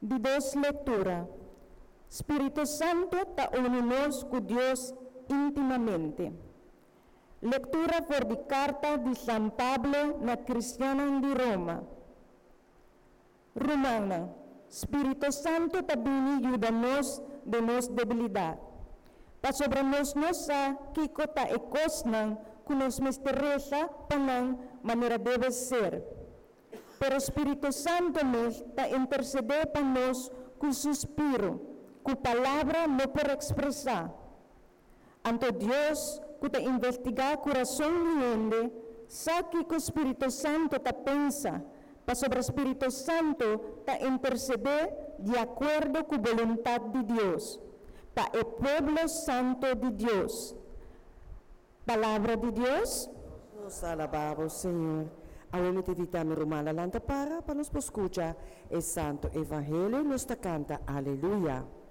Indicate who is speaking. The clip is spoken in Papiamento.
Speaker 1: Di dos lectura. Spirito Santo ta uni nos cu Dios intimamente. Lectura for di carta di San Pablo na cristiannan di Roma. Rumannan, Spirito Santo ta bini yuda nos den nos debilidad. Pasobra nos no sa kico ta e cosnan cu nos mester resa pa nan manera debe ser. Pero Spirito Santo mes ta intercede pa nos cu suspiro, cu palabra no por expresa. Anto Dios, cu ta investiga curason di hende, sa kico Spirito Santo ta pensa, pasobra Spirito Santo ta intercede di acuerdo cu boluntad di Dios, pa e pueblo santo di Dios. Palabra di Dios.
Speaker 2: Nos ta alaba bo, Señor. Awe mi ta invita mi rumannan lanta para pa nos por scucha e Santo Evangelio. Nos ta canta Aleluya.